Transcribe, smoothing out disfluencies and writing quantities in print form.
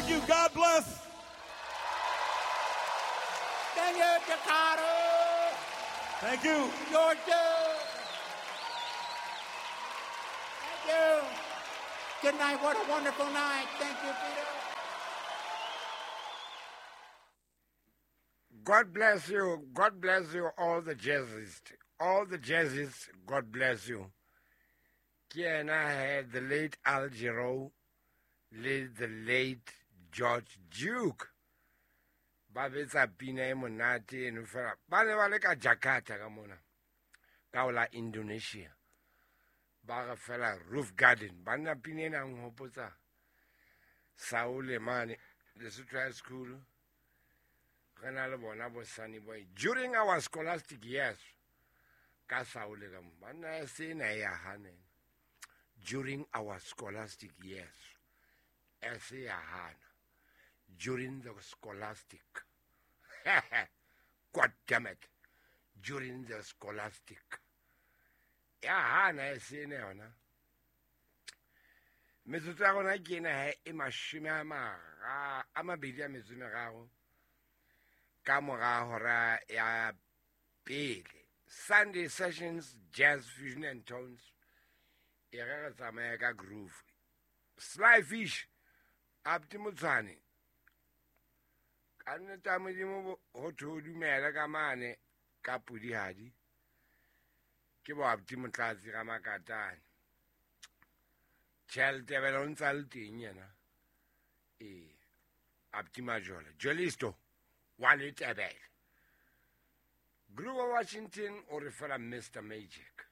Thank you. God bless. Thank you, Jakarta. Thank you. Georgia. Thank you. Good night. What a wonderful night. Thank you, Peter. God bless you. God bless you, all the jazzists. All the jazzists, God bless you. Ke yena he, the late Al Jarreau le the late George Duke. Ba betsa pina e monate eno fela. Ba ne ba le ka Jakarta ka mona. Ka ho la Indonesia. Ba re fela Roof Garden. Banna pina ena nhopotsa Saule mane, Lesotho High School. Re na le bona bo Sunny Boy. During our scholastic years, ka Saule ka mo. Banna sena e ya hana. During our scholastic years, se ya hana. During the scholastic. God damn it. During the scholastic. Ya hana e sena yona. Metsotso ya rona ke ena he e mashome a mara a mabedi a metso e meraro ka mora hora ya pele. Sunday Sessions, Jazz Fusion and Tones. E re re tsamaya ka groove. Sly Fish, Abdi Motshwane. Ka nnete ya Modimo ho thwe o dumele ka mane ka pudihadi. Ke bo Abdi Motlatsi ga Makatane. Tjhelete o ntsa le teng yena. Ee, Abdi Majola, Jolisto wa Letebele. Grover Washington o re fela Mr. Magic.